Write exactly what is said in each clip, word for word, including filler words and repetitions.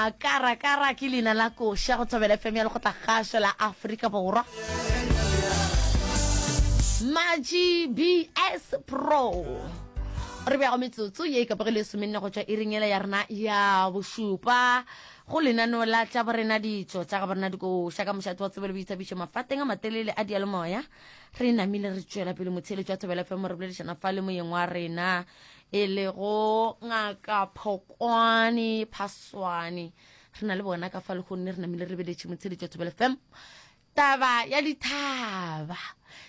Makarakara ke leina la koša go Thobela F M ya Lekgotlakgašo la Afrika Borwa. Maji B S Pro. Re beago metsotso ye e kapogile e somenne go tšwa iring yela ya rena ya bošupa go lenaneo la tša borena ditšo tša ga borena dikoša ka mošate wa tsebo le boithabišo mafateng a matelele a diyalemoya. Re namile re tšwela pele motheeletši wa Thobela F M re boledišana fa le moyeng wa rena e lego Ngaka Phokwane Phaswane. Re na le bona ka fa lehono re namile re lebeletše motheeletši wa Thobela F M. Taba ya dithaba,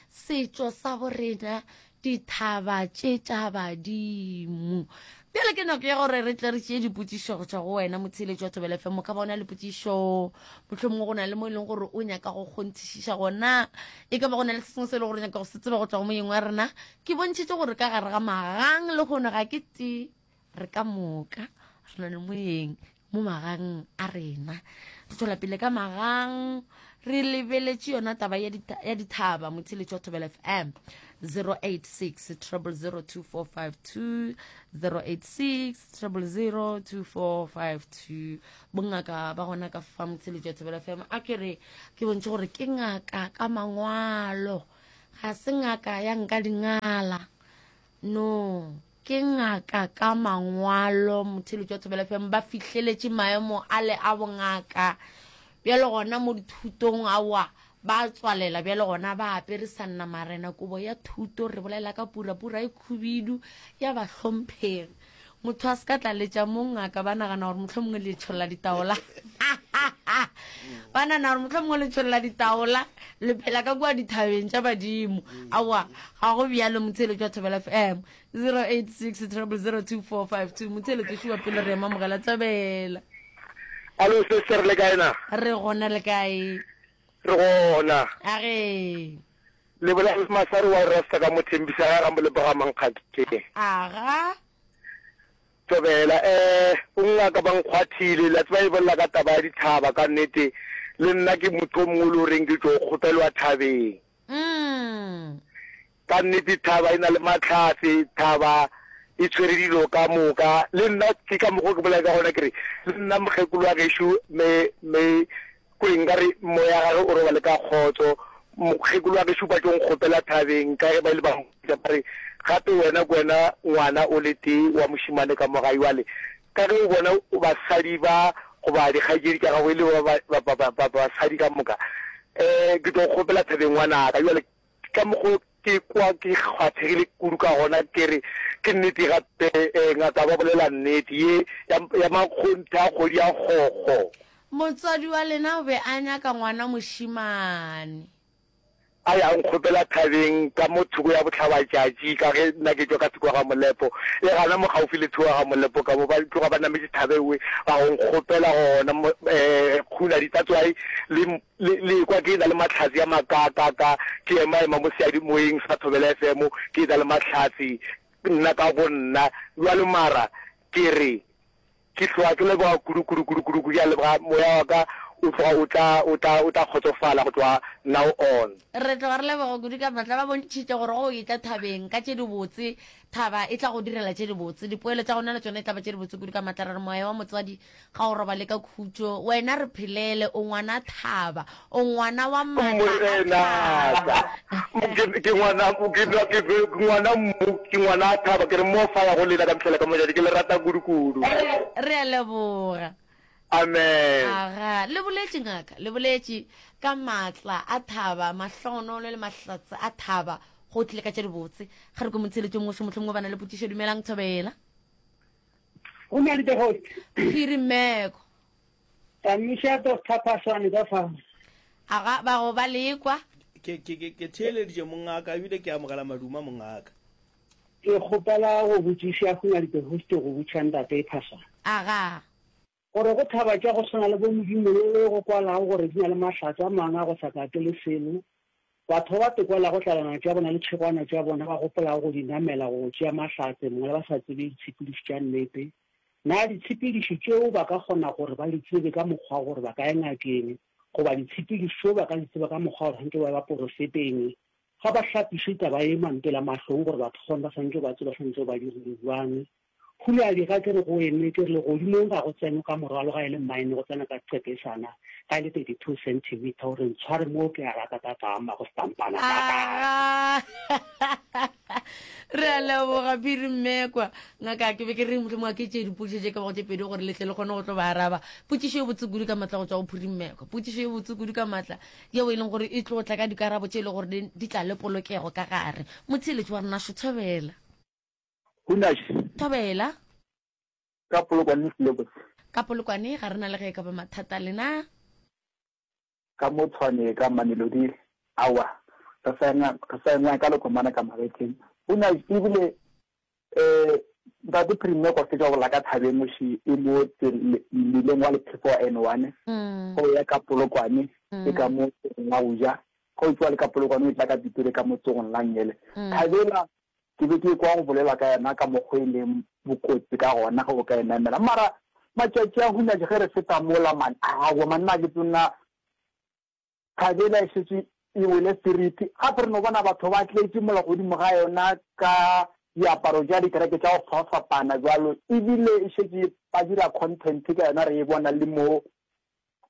setšo sa borena, dithaba tše tša badimo. Bjale ke nako ya gore re tle re tšee dipotšišo go tšwa go wena motheeletši wa Thobela F M. O ka ba o na le potšišo, mohlomongwe go na le mo e leng gore o nyaka go kgonthišiša gona, e ka ba go na le se sengwe se e leng gore o nyaka go se tseba go tšwa go moyeng wa rena. Ke bontšhitše gore ka gare ga magang le kgono ga ke tee, re ka moka re na le moyeng mo magang a rena. Re tšwela pele ka magang, re lebeletše yona taba ya dita-, ya dithaba motheeletši wa Thobela F M. zero eight six triple zero two four five two, zero eight six triple zero two four five two. Bongaka ba gona ka fa motheeletši wa Thobela F M. A ke re ke bontšhe gore ke ngaka ka mangwalo, ga se ngaka ya nka dingala, no, ke ngaka ka mangwalo. Motheeletši wa Thobela F M ba fihleletše maemo a le a bongaka bjale gona mo dithutong aowa ba tswalela bjale gona ba apere sanna marena kobo ya thuto. Re bolela ka purapura e khubidu ya bahlomphegi. Motho a se ka tlaletša mo ngaka ba nagana gore mohlomongwe le tšholla ditaola. Ba nagana gore mohlomongwe le tšholla ditaola le phela ka kua dithabeng tša badimo. Aowa ga go bjalo motheeletši wa Thobela F M. zero eight six triple zero two four five two. Motheeletši wa pele re ema mogela Thobela. Alo sister, le kae na? Re gona, le kae? Re gona. A ge. Le bolela le Masari wa Rasta ka mo Thembisa ga ga Molepo ga Mankgakeng. Aga. Thobela, eh, o ngaka ba nkgwathile, la tseba e bolela ka taba ya dithaba ka nnete, le nna ke motho o mongwe le o reng ke tšo kgopelwa thabeng. Mm. Ka nnete thaba e na le mahlatse, thaba e tshwere dilo ka moka. Le nna ke ka mokgo ke bolela ka gona ke re le nna mokgekolo wa gešo me, me kore nka re moya gage o robale ka kgotso. Mokgekolo wa gešo ba tšo nkgopela thabeng ka ge ba ile ba mpotša ba re gape wena ke wena ngwana o le tee wa mošemane ka mo gae. Bjale ka ge o bona basadi ba goba dikgaetšedi tša gago e le ba, ba, ba, ba, ba, basadi ka moka, um ke tlo kgopela thabeng ngwanaka. Bjale ka mokgo ke kwa ke kgwathegile kudu ka gona, ke re ke nnete gape, eh, ngaka ba bolela nnete ye ya, ya makgonthe a kgwedi ya kgokgo. Motswadi wa lena o be a nyaka ngwana mošemane. A ya nkgopela thabeng ka mo thoko ya bohlabatšatši, ka ge nna ke tšwa ka thoko ya ga Molepo, e gana mo gaufi le thoko ya ga Molepo ka mo, ba tloga ba nametše thabe ewe, ba go nkgopela gona mo, eh, kguna ditatswai le, le, le kwa ke na le mahlatse a makaakaka, ke ema-ema mo seyalemoyeng sa Thobela F M, ke na le mahlatse nna ka bonna. Bjalo mara ke re, ke tloga ke leboga kudu, kudu, kudu, kudu, kudu, ke a leboga, moya wa ka o tloga o tla, o tla, o tla kgotsofala go tloga now on. Re tloga re leboga kudu ka matla. Ba bontšhitše gore go etla thabeng ka tše dibotse, thaba e tla go direla tše dibotse, dipoelo tša gona le tšona e tla ba tše dibotse kudu ka matla. Re re moya wa motswadi ga o robale ka khutšo, wena re phelele, o ngwana thaba, o ngwana wa matla a thaba. Ke, ke ngwana, ke, ke, ke ngwana mmu, ke ngwana a thaba, ke re mo fa ya go lena ka mehla ka mojadi, ke le rata kudu kudu. Re a leboga. Amen. Aga, le boletše ngaka, le boletše ka matla a thaba, mahlogonolo le mahlatse a thaba, go tlile ka tše dibotse. Ga re ko motheeletšong mongwe, mohlomongwe ba na le potšišo. Dumelang Thobela. Go na le the host. Phiri Mmeko. Tamiša Doctor Phaswane ka fa. Aga, ba go ba lekwa. Ke, ke, ke, ke theeleditše mongaka, ebile ke amogela maduma mongaka. Ke kgopela go botšiša go na le the host go botša ntate Phaswane. Aga. Gore go thaba tša go swana le bo Modimo le go kwalago gore di na le mahlatse a mangwe a go sa kake le selo. Batho ba ba tekwelago tlalana tša bona le tšhegwana tša bona ba gopolago go di namela go tšea mahlatse mongwe ba sa tsebe ditshepedišo tša nnete. Na ditshepedišo tšeo ba ka kgona gore ba di tsebe ka mokgwa gore ba ka ya ngakeng, goba ditshepedišo tšeo ba ka di tseba ka mokgwa gore santse ba ba porofeteng, ga ba hlapiše taba ye mantela mahlong gore batho kgone ba santse ba tseba santse ba dirile jwang. Huleadi ga ke re go eme ke re legodimong ga go tsenwe ka morwalo ga e le mine go tsena ka qepesana ga e le thirty two centimeter o re ntshware mo ke a rata tata ama go stampana tata. Aga re a leboga Phiri Mmekwa. Ngaka ke be ke re mohlomongwe a ke tšee dipotšišo tše ka bago tše pedi gore le tle le kgone go tlo ba araba. Potšišo e botse kudu ka matla go tšwa go Phiri Mmekwa. Potšišo e botse kudu ka matla yeo e leng gore e tlo tla ka dikarabo tše e le gore di tla le polokego ka gare. Motheeletši wa rena šo thobela. Hunash. Thobela. Ka Polokwane Silebose. Ka Polokwane ga re na le ge e ka ba mathata lena. Ka mo Tshwane ka Mamelodi aowa re sa engwa re sa engwa ka lekomana ka magetleng. Hunash ebile eh ntate Premier kwa fetša go bolela ka thabeng moši e mo mmileng wa lephefo wa N one go ya ka Polokwane e ka mo tsogong la go ja ge o tšwa le ka Polokwane o tla ka Pitori ka mo tsogong la nngele. Thabela Ke be ke ekwa go bolelwa ka yona ka mokgo e leng bokotsi ka gona ge o ka e namela. Mara matšatši a hunatše ge re feta mola man, aowa man nna ke tsona thabela e šetše e wele seriti. Gape re no bona batho ba tletše mola godimo ga yona ka diaparo tša dikereke tša go fapafapana bjalo, ebile e šetše ba dira content ka yona re e bona le mo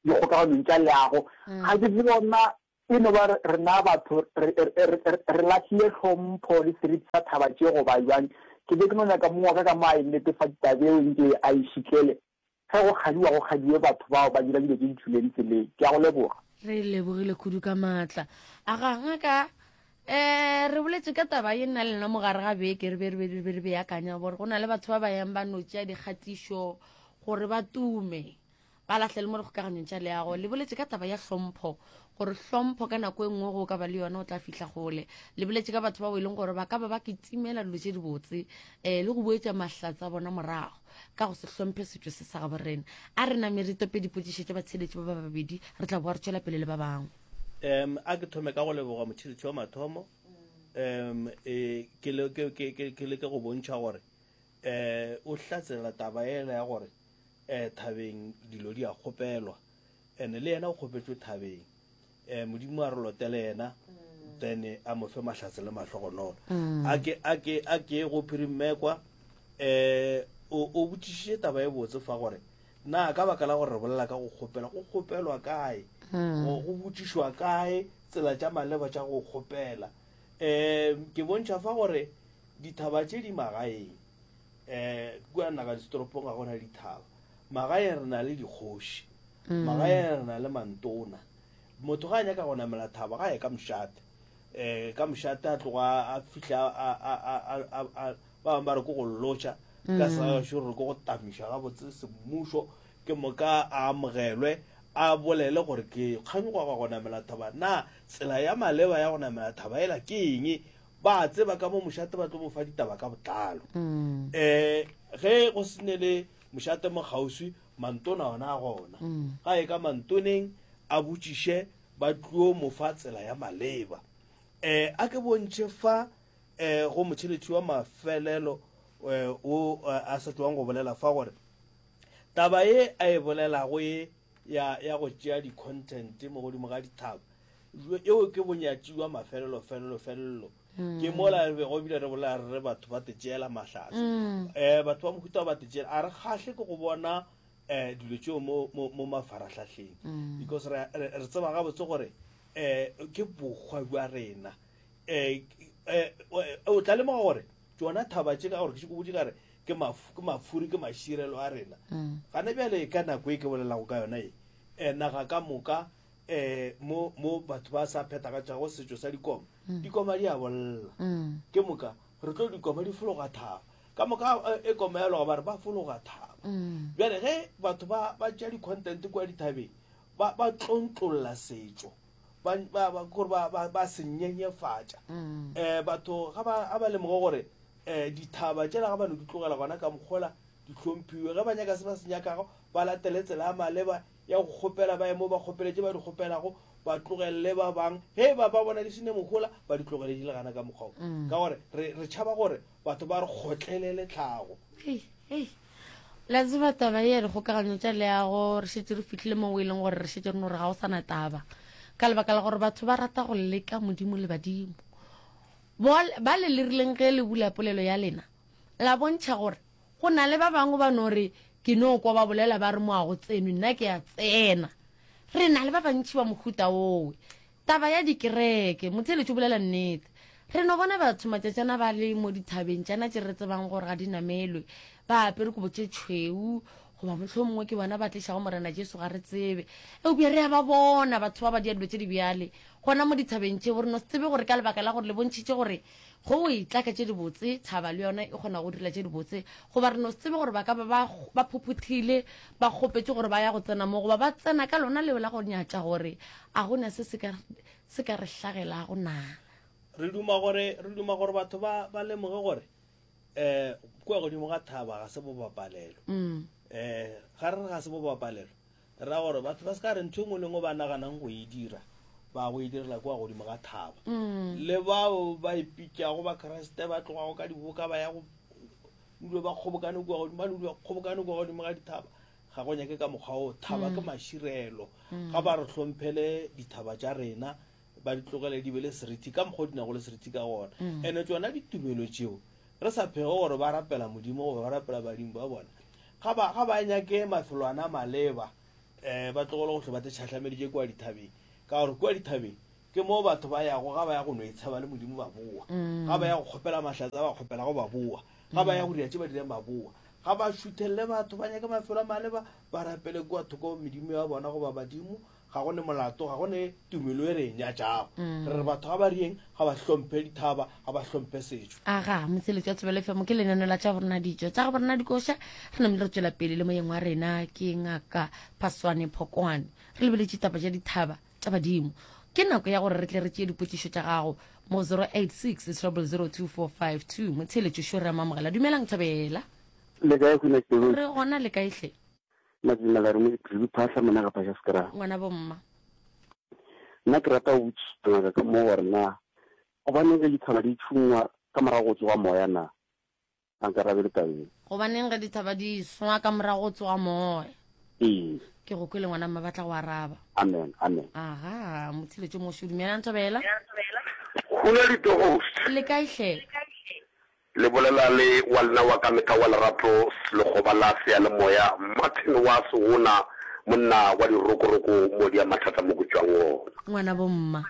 dikgokaganong tša leago. Ga ke tsebe gore na E no ba rena batho re, re, re, re lahlile tlhompho le seriti sa thaba tše goba bjang. Ke be ke no nyaka mong wa ka ka mo a e netefatše taba eo nke a e šitlele. Ge go kgadiwa go kgadiwe batho bao ba dira dilo tše di tšwileng tseleng. Ke a go leboga. Re lebogile kudu ka maatla. Aga, ngaka, um re boletše ka taba ye nna le lena mo gare ga beke re be re be re be re beakanya gore go na le batho ba ba yang ba no tšea dikgatišo gore ba tume. Ba lahlele mo dikgokaganyong tša leago. Le boletše ka taba ya hlompho, gore hlompho ka nako e nngwe go ka ba le yona o tla fihla kgole. Le boletše ka batho bao e leng gore ba ka ba ba kitimela dilo tše dibotse um le go boetša mahlatse a bona morago ka go se hlomphe setšo se sa gabo rena. A re name re tope dipotšišo tša batheeletši ba ba babedi, re tla boa re tšwela pele le ba bangwe. Um a ke thome ka go leboga motheeletši wa mathomo um e, ke le, ke, ke, ke, ke leke go bontšha gore um o hlatsela taba ela ya gore eh thabeng dilo di a kgopelwa and le yena o kgopetšwe thabeng eh modimo a re lotele yena then a mo fe mahlatse le mahlogonolo mm. a ke a ke a ke go phirimmekwa eh o o botšišitše taba e botse fa gore na ka baka la gore re bolela ka go kgopela go kgopelwa kae mm. go go botšišwa kae tsela tša maleba tša go kgopela um ke bontšha fa gore dithaba tše di magaeng um kua naga ditoropong ga gona dithaba magaeng re na le dikgoši mm. magaeng re na le mantona motho ga a nyaka go namela thaba ga ye ka mošate um ka mošate a tloga a fihla ba bangwe ba re ko go lotšha ka mm. sagašo re ko go tamiša gabotse semmušo ke moka a amogelwe a bolele gore ke kganyoga go namela thaba na tsela ya maleba ya go namela thaba ela ke eng Ba a tseba ka mo mošate ba tlo mo fa ditaba ka botlalo. Um ge go se ne le mošate mo kgauswi, mantona ona a gona. Ga ye ka mantoneng a botšiše ba tlo mo fa tsela ya maleba. Um a ke bontšhe fa um go motšheletši wa mafelelo um o a sa tšwang go bolela fa gore taba ye a e bolelago ye ya ya go tšea di-content mo godimo ga dithaba eo ke bonyatši wa mafelelo felelo felelo mm. ke mola re bego ebile re bolela re re batho ba tetšeela mahlatse um batho ba mohuta ba tetšeela a re kgahle ke go bona um dilo tšeo mo, mo, mo mafarahlahleng mm. because re, re, re tseba gabotse gore um ke bokgwa bja rena um o tla lemoga gore tšona thaba tše ka gore ke šeko botše ka re ke mafuri ke maširelo a rena gane bjale ka nako e ke bolelago ka yona e naga ka moka um mo mo batho ba sa phethagatšago setšo sa dikoma mm. dikoma di a bolla mm. ke moka re tlo dikoma di fologa thaba ka moka e, e koma ya loga ba re ba fologa thaba mm. bjale ge batho ba ba tšea di-content kua dithabeng ba ba tlontlolla setšo ba ba ba gore ba ba ba se nyenyefatša um batho ga ba ga ba lemoge gore um dithaba tšela ga ba no di tlogela gona ka mokgola di hlomphiwe ge ba nyaka se ba se nyakago ba latele tsela ya maleba ya go kgopela ba ye mo ba kgopele tše ba di kgopelago ba tlogelele ba bang ge e ba ba bona di se ne mohola ba di tlogele di le gana ka mokgwa wo mm. ka gore re, re tšhaba gore batho ba re kgotlelele tlhago hey, hey. La tseba taba ye ya dikgokaganyo tša leago re šetše re fihlile mo e leng gore re šetše re no re ga o sana taba ka lebaka la gore batho ba rata go leka modimo le badimo ba le le rileng ge le bula polelo ya lena la bontšha gore Go na le ba bangwe ba no re ke no kwa ba bolela ba re mo a go tsenwe, nna ke a tsena. Re na le ba bantši ba mohuta wowe. Taba ya dikereke, motheeletši o bolela nnete. Re no bona batho matšatšana ba le mo dithabeng tšana tše re tsebang gore ga di namelwe, ba apere kobo tše tšhweu, goba mohlomongwe ke bona ba tlišago Morena Jesu, ga re tsebe. Eupša re a ba bona batho ba ba dia dilo tše di bjale gona mo dithabeng tšeo. Re no se tsebe gore ka lebaka la gore le bontšhitše gore go o etla ka tše dibotse, thaba le yona e kgona go dira tše dibotse, goba re no se tsebe gore ba ka ba ba, ba phophothile, ba kgopetše gore ba ya go tsena mo, goba ba tsena ka lona leo la go nyatša gore a go na se se ka, se ka re hlagelago na. Re duma gore, re duma gore batho ba, ba lemoge gore um kua godimo ga thaba ga se bobapalelo. Mm. Um ga re re ga se bobapalelo, re ra gore batho ba se ka re ntho e nngwe le nngwe ba naganang go e dira, ba go e direla kua godimo ga thaba. Mm. Le bao ba ipitšago Bakriste ba tlogago ka diboka ba ya go dula ba kgobokane kua godimo, ba dula ba kgobokane kua godimo ga dithaba, ga go nyake ka mokgwa wo. Thaba ke maširelo. Ga ba re hlomphele dithaba tša rena, ba di tlogele di be le seriti ka mokgwa o di nago le seriti ka gona. Ene tšona ditumelo tšeo re sa phege gore ba rapela Modimo goba ba rapela badimo ba bona, ga ba, ga ba nyake mafelwana a maleba, um ba tlogele go hlwe ba te tšhahlameditše kua dithabeng, ka gore kua dithabeng ke mo batho ba yago ga ba ya go no itsheba le Modimo ba boa, ga ba ya go kgopela mahlatse a ba kgopelago ba boa, ga ba ya go dira tše ba dirang ba boa. Ga ba šuthelele batho, ba nyake mafelo a maleba, ba rapele kua thoko medimo ya bona goba badimo. Ga go ne molato, ga go ne tumelo e re e nyatšago. Re re batho ga ba rieng, ga ba hlomphe dithaba, ga ba hlomphe setšo. Aga, motseletši wa Thobela F M ke lenaneo la tša borena ditšo, tša borena dikoša. Re namile re tšwela pele le moyeng wa rena ke Ngaka Phaswane Phokwane. Re lebeletše taba tša dithaba tša badimo. Ke nako ya gore re tle re tšee dipotšišo tša gago mo zero eight six triple zero two four five two. Motheeletši šo re a mo amogela. Dumelang Thobela. Le kae Khwina Sibuli? Re gona, le kae hle? Madumela re mo Dipilwi Phahla mona ga Phasha Skra. Ngwana bo mma. Nna ke rata go botšiša ngaka ka mo gore na gobaneng ge dithaba di tšhungwa ka morago go tsoga moya na? A nkarabele tabeng. Gobaneng ge dithaba di swa ka morago go tsoga moya? Ee. Ke go kwele ngwana mma, ba tla go araba. Amen, amen. Aha, motshiletšo mošo, dumelang Thobela. Go na le host. Le kae hle? Le bolela le wa lena wa ka mehla wa lerato, lekgoba la seyalemoya, Martin wa Segona, monna wa dirokoroko mo di a mathata mo ke tšwang gona. Ngwana bo mma.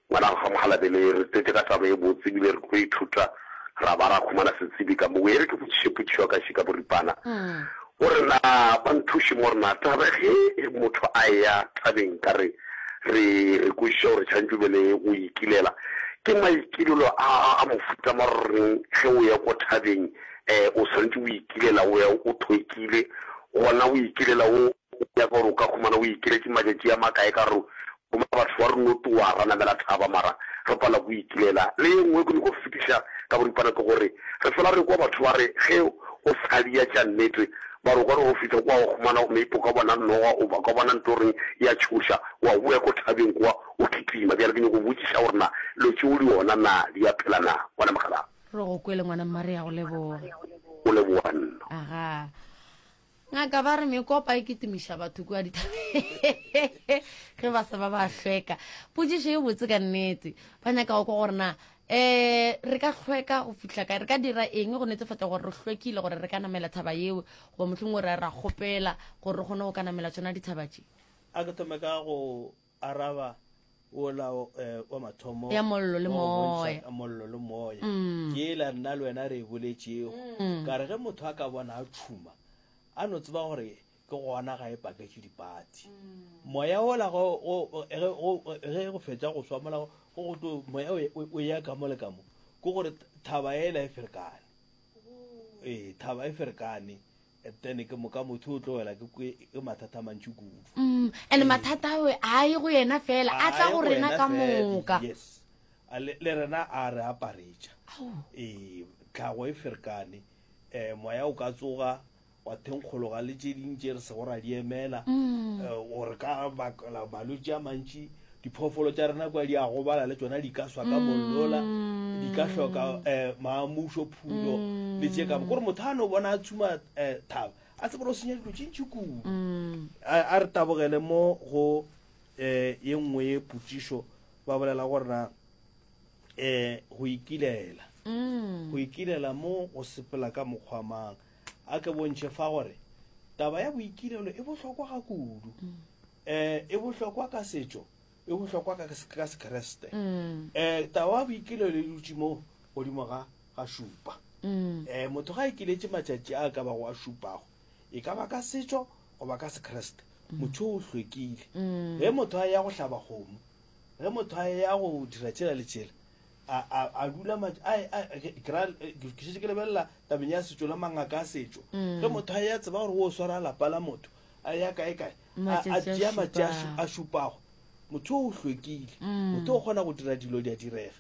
Ngwana ga Mogalabele, re tletše ka taba e botse ebile re tlo ithuta ra ba ra khumana setsebi ka mo. E re ke botšiše potšišo ya ka še ka boripana gore na ba nthuše mo gore na taba ge motho a eya thabeng ka re re re kwešiša gore tshwanetse o be le go ikilela, ke maikilelo a, a mofuta ma reng ge o ya ko thabeng, eh, o tshwanetse o ikilela, o ya o thwekile, gona o ikilela o nyaka gore o ka khumana o ikiletše matšatši a makae ka gore goma batho ba re no toa ra namela thaba mara re pala go ikilela. Le ye nngwe ke nyako fetiša ka boripana ke gore re fela re kwa batho ba re ge o sa dia tša nnete ba re o ka re go fihla kwa wa khumana maybe o ka bona noga o ka bona ntho reng ya tšhoša wa boya ko thabeng kwa o kitima. Bjale ke nyako botšiša gore na lo tšeo le yona na di a phela na ngwana mogala? Re go kwele ngwana mma, re ya go leboga. O leboga nna. Aga. Ngaka ba re mekopa e kitimiša batho kua dithabeng ge ba se ba ba hlweka. Potšišo e botse ka nnete. Ba nyaka go kwa gore na eh re ka hlweka go fihla kae, re ka dira eng go netefatša gore re hlwekile gore re ka namela thaba yeo, goba mohlomongwe re ra kgopela gore re kgone go ka namela tšona dithaba tše. A ke thome ka go araba ola, eh, wa mathomo ya mollo le wa go bontšha moya. ka mollo le moya. Mm. Ke ela nna le wena re e boletšego. Mm. Ka re ge motho a ka bona a tšhuma, a no tseba gore ke gona ga e paketše dipati. Moya ola go, go, ge, go, ge go fetša go swa mola, go, go tlo, moya o, o, o ya ka mo le ka mo, ke gore thaba ela e ferekane. Ee, thaba e ferekane. Then ke moka motho o tlo wela ke, ke, ke mathata a mantši kudu. Mm, and Ee. mathata ao a ye go yena fela, a tla A ye go go rena yena ka fela, moka. Yes. A le, le rena a re aparetša. Ao. Ee, tlhago e ferekane. Eh, moya o ka tsoga wa thenkgologa le tše ding tše re sego ra di emela. Mm. Eh, gore ka bakela malwetši a mantši, diphoofolo tša rena kwa di a gobala le tšona di ka swa ka mollola, di ka hloka, eh, maamušo, phulo, le tše ka mo. Kore motho a no bona a tshuma, eh, thaba, a tsebe gore o senya dilo tše ntši kudu. Mm. A, a re tabogele mo go, eh, ye nngwe ye potšišo, ba bolela gore na, eh, go ikilela. Mm. Go ikilela mo go sepela ka mokgwa mang. A ke bontšhe fa gore taba ya boikilelo e bohlokwa ga kudu. Um e bohlokwa ka setšo, e bohlokwa ka ka Sekriste. Um taba ya boikilelo e dutše mo godimo ga ga šupa. Um motho ga a ikiletše matšatši a ka bago a šupago, e ka ba ka setšo goba ka Sekriste, motho o hlwekile. Ge motho a ya go hlaba kgomo, ge motho a ya go dira tšela le tšela, a a a dula a a ke ra ke šetše ke lebelela tabeng ya setšo le mangaka a setšo. Ge motho a ya tseba gore o swara lapa la motho, a ya kae kae, a a tšea matšatši a šupago, motho o hlwekile. Motho o kgona go dira dilo di a direga.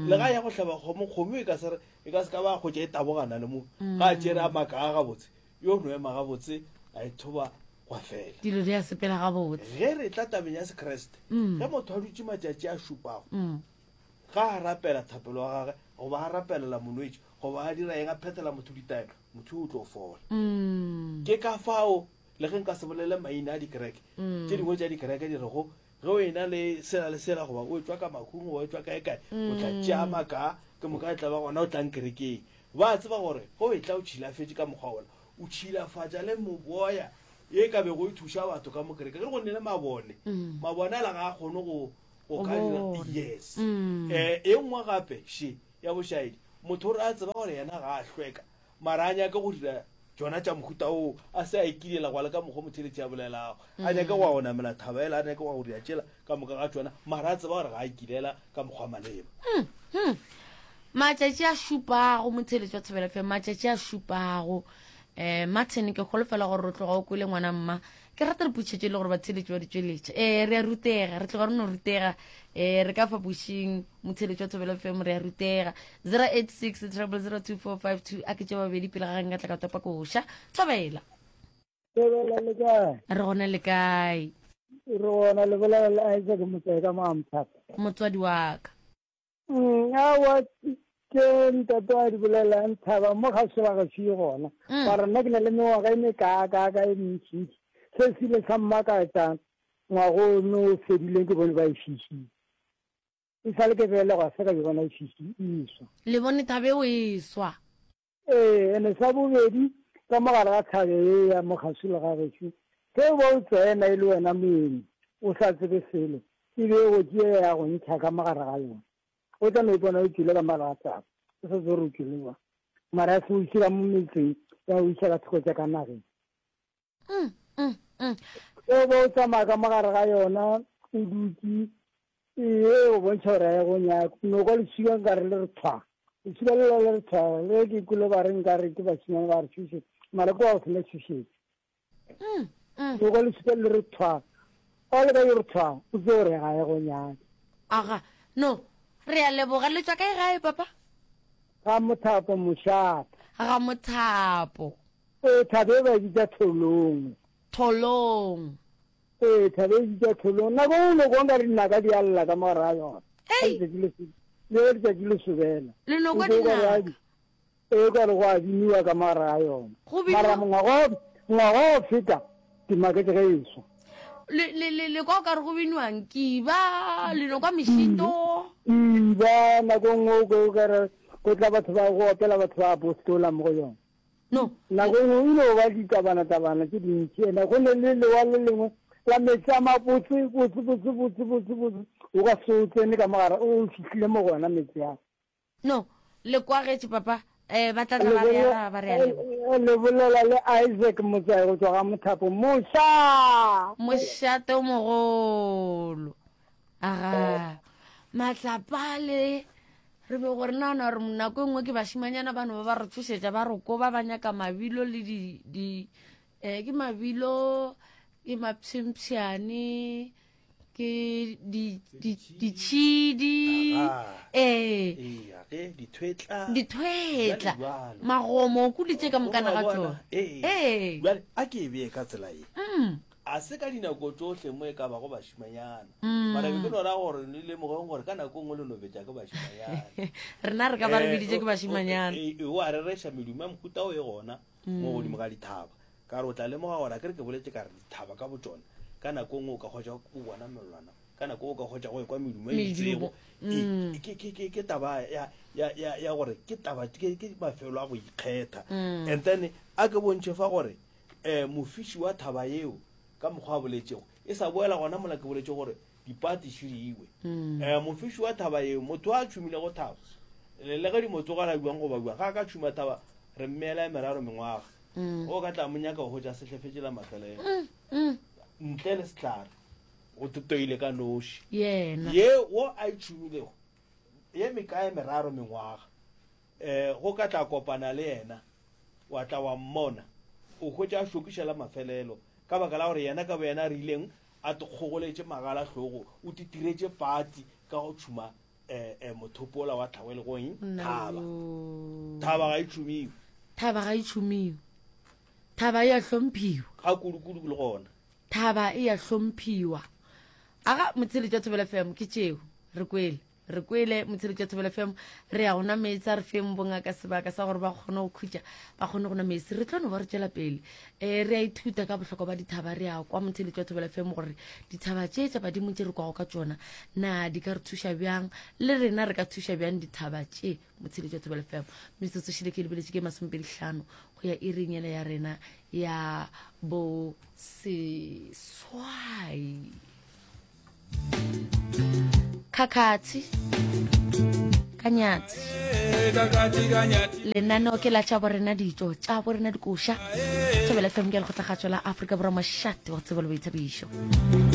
Le ga ya go hlaba kgomo, kgomo e ka se e ka se ka ba kgotša e tabogana le mo. Ga a tšere a maka a gabotse, yo no ema gabotse a e thoba gwa fela. Dilo di a sepela gabotse. Ge re tla tabeng ya Sekriste, ge motho a dutše matšatši a šupago, ga a rapela thapelo wa gagwe, goba a rapelela molwetši, goba a dira eng, a phethela motho ditaelo, motho o tlo fola. Ke ka fao le ge nka se bolele maina a dikereke, tše dingwe tša dikereke di rego ge o ena le sela le sela, goba o etšwa ka makhung, goba o etšwa kae kae, o tla tšea makaa, ke moka e tla ba gona o tlang kerekeng. Ba tseba gore ge o etla o tšhilafetše ka mokgwa wola, o tšhilafatša le moboya ye ka bego e thuša batho ka mo kerekeng. Ge go nne le mabone, mabone ala ga a kgone go go ka dira yes. Eh, e nngwe gape še ya bošaedi, motho o re a tseba gore yena ga a hlweka, mara a nyake go dira tšona tša mohuta oo, a se a ikilela gwa le ka mokgwa motheletši a bolelago, a nyake go ya go namela thaba ela, a nyake go ya go dira tšela ka moka ga tšona, mara a tseba gore ga a ikilela ka mokgwa maleba. Matšatši a šupago, motheletši wa Thobela F M, matšatši a šupago. Eh, Martin, ke holofela gore o tloga o kwele ngwana mma. Ke rata re putšhetše le gore batheletši ba di tšweletše. Eh, re a rutega, re tloga re no rutega. Eh, re ka fa pušing, motheletši wa Thobela F M, re a rutega. zero eight six, triple zero two four five two, a ke tše babedi pele ga nka tla ka topa koša. Thobela. Thobela le kae? Re gona le kae? Re gona, le bolela le Isaac Motsae ka Moamthata. Motswadi wa ka. Mm, aowa, ke ntate wa di bolelang thaba mo ga se ba ga se gona. Mara nna ke na le mengwaga e mekaaka e mentšintši. Se se ile sa mmakatša ngwago ono o fedileng ke bone ba e fišitše. E sale ke belegwa se ka ke bona e fiši e swa. Le bone thabe o e swa. Ee, ene sa bobedi ka mogare ga thabe e ya mogaswi le ga gešo, ge o ba o tsena e le wena moeng o sa tsebe selo, e be go tšea ya go ntšha ka mogare ga yona. O tla no ipona o tšwile ka mogare ga thabe, o sa tsebe gore o tšwile jwang. Mara ya se o iše ka mo metseng, ya o iša ka thoko tša ka nageng. Mm, mm, mm. Ge o ba o tsamaya ka mogare ga yona, o dutše, ee, o bontšha gore ga e go nyake. No kwa leswika nkare le re thwa. Leswika le le re thwa, le ke kwele ba re nkare ke bašemane ba re tšhošetša, mara ke wa go sena tšhošetšo. Mm, mm. No kwa leswika le re thwa, o le ka yo re thwa, o tsebe gore ga e go nyake. Aga, no, re a leboga. Le tšwa kae gae, papa? Ga Mothapo, mošate. Ga Mothapo. Ee, thabe e ba bitša Tholong. Tholong. Ee, thabe e bitša Tholong. Nako e nngwe kwa nkare dinaka di a lla ka mogare ga yona. Ei! Letšatši le se-, le letšatši le sobela. Le no kwa O kwa dinaka. re Ee, ka re go a biniwa ka mogare ga yona. Go biniwa? Mara mongwaga o, ngwaga o feta, ke maketše ge e swa. Le, le, le, le kwa o ka re go biniwang kiba, le no kwa mešito. Kiba, nako nngwe o kwe o ka re go tla batho ba go opela batho ba apostola mo go yona. No. Nako nngwe o ile go ba ditabana-tabana tše dintši, ene go ne le lewa le lengwe la metsi a mabotse, botse, botse, botse, botse, botse, o ka se o tsene ka mogare, o fihlile mo go ona metsi a. No, le kwagetše papa, eh, ba tla tla ba re araba, ba re a leboga. Le bolela le Isaac Motsae go tšwa ga Mothapo. Moša! Mošate o mogolo. Aga, matlapale, re be gore nana gore nako e nngwe ke bašimanyana bano ba ba re tšhošetša, ba re koba, ba nyaka mabilo le di, di, eh, ke mabilo, ke mapshempshane, ke di, di, ditšhidi, ee. Ee, ge dithwetla. Dithwetla. Bjale jwalo. Magomo, o kuditše ka mokana ga Wa bona? tšona. Ee. Ee. Bjale, a ke e bee ka tsela ye. Mm. A se ka dinako tšohle mo e ka bago bašimanyana. Mm. Mara be ke no ra gore le lemogeng gore ka nako nngwe le no betša ke bašimanyana. Rena re ka ba re Eh, biditše ke o, o, bašimanyana. e, e, o a rereša medumo ya mohuta o e gona mo Mm. godimo ga dithaba. Ka re o tla lemoga gore a ke re ke boletše ka re dithaba ka botšona, ka nako nngwe o ka hwetša o bona mellwana Ka nako o ka hwetša go ekwa medumo e itšego. Medumo. Ke, ke, ke, ke taba ya, ya, ya, ya gore ke taba, ke, ke mafelo a go ikgetha. And then a ke bontšhe fa gore um mofiši wa thaba yeo ka mokgwa a boletšego e sa boela gona mola ke boletše gore dipati šidiwe. Um mofiši wa thaba yeo, motho a tšhumilego thaba, le le ge di mo tsogela bjang goba bjang, ga a ka tšhuma thaba re mmeela e meraro mengwaga. O ka tla mo nyaka go hwetša sehlefetše la mafelelo. Ntle le sehlare, o totoile ka noši. Yena. Ye wo a e tšhumilego, ye mekae meraro mengwaga, um go ka tla kopana le yena, wa tla wa mmona, o hwetša a hlokiša la mafelelo, ka baka la gore yena ka boyena a rileng a tikgogoletše magala hlogo, o titiretše pati ka go tšhuma um um mothopo wola wa tlhago e lego eng? Thaba. Thaba ga e tšhumiwe. Thaba ga e tšhumiwe. Thaba e a hlomphiwa. Ga kudu-kudu le gona. Thaba e a hlomphiwa. Aga motsheletši wa Thobela F M ke tšeo. Re kwele. Re kwele motsheletši wa Thobela F M. Re ya go nwa meetse, a re feng bongaka sebaka sa gore ba kgone go khutša, ba kgone go nwa meetse. Re tlo no ba re tšwela pele. Eh, re a ithuta ka bohlokwa ba dithaba. Re a kwa motsheletši wa Thobela F M gore dithaba tše tša badimo tše re kwago ka tšona, na di ka re thuša bjang, le rena re ka thuša bjang dithaba tše. Motsheletši wa Thobela F M. Metsotso šile ke lebeletše ke masomepedi hlano go ya iring yela ya rena ya bo seswai. Khakhathi Kanyatsi. Lenaneo ke la tša borena ditšo tša borena dikoša. Thobela F M ke lekgotlakgatšo la Afrika Borwa, mošate wa tsebo le boithabišo.